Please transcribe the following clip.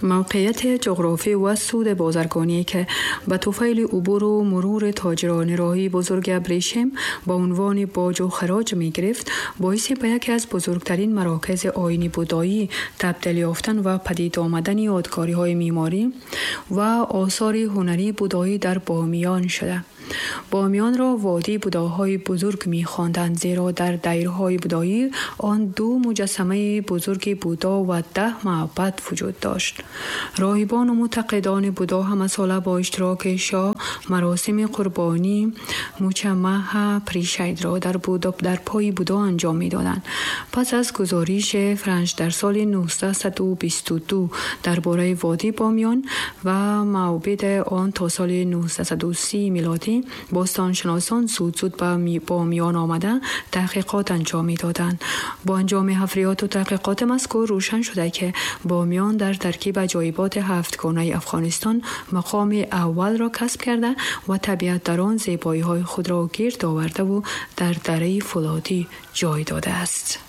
موقعیت جغرافی و سود بازرگانی که به طفیل عبور و مرور تاجران راهی بزرگ ابریشم با عنوان باج و خراج می گرفت، باعث به یکی از بزرگترین مراکز آیین بودایی تبدیل یافتن و پدید آمدن یادگاری های معماری و آثار هنری بودایی در بامیان شده. بامیان را وادی بوداهای بزرگ می‌خواندند، زیرا در دیرهای بودایی آن 2 مجسمه بزرگ بودا و 10 معبد وجود داشت. راهبان و معتقدان بودا همه ساله با اشتراک شاه مراسم قربانی مچمه پریشید را در پای بودا انجام می‌دادند. پس از گزارش فرانش در سال 1922 درباره وادی بامیان و معبد آن تا سال 1930 میلادی، باستانشناسان زود زود به بامیان آمده تحقیقات انجام می‌دادند. با انجام حفریات و تحقیقات مذکور روشن شده که بامیان در ترکیب عجایبات هفتگانه افغانستان مقام اول را کسب کرده و طبیعت در آن زیبایی‌های خود را گرد آورده و در دره فولادی جای داده است.